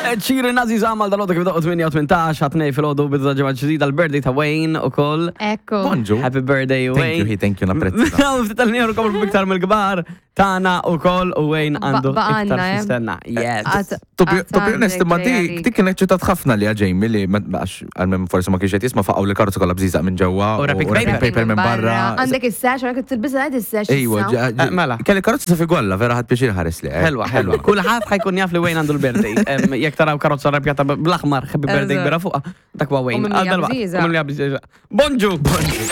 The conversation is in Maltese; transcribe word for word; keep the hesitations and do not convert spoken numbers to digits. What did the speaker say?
Ed Sheeran, Aziz Amal, dal-għodu kif daqqu tmienja u tmintax, għat-tnejn filgħodu, bidu ta' ġimgħa ġdida, l-birthday ta' Wayne u koll. Ekku. Bonġu. Happy birthday, Thank Wayne. you, he, thank you, napprezza. Ftit tal-nieħor komplu biktar mill-kbar tagħna u koll u Wayne Ba- għandu baqanna, iktar eh. jistenna. Yes. Għat- To be għat to be honest, għandek ma dik ġejja dik kienet ċitat ħafna li Jamie li ma- għax għalmem forsi ma kienx qed jisma' faqgħu li karozza kollha bżiżaq minn ġewwa U wrapping paper. paper minn barra. Għandek is-sash, għandek tilbisa għed is-sash. Ejwa, issa. ġa- ġa- Eh, mela. Kelli karozza sa figolla, vera ħadd pjaċir ħares li. eh. Ħelwa, ħelwa. Kulħadd ħa jkun jaf li Wayne għandu l-birthday. Em, Jekk taraw karozza rrapjata bl-aħmar, happy birthday Eżatt. kbira fuqha, dak huwa Wayne. U mimlija Għal dal-waqt. bżieżaq. U mimlija bżieżaq. Bonġu!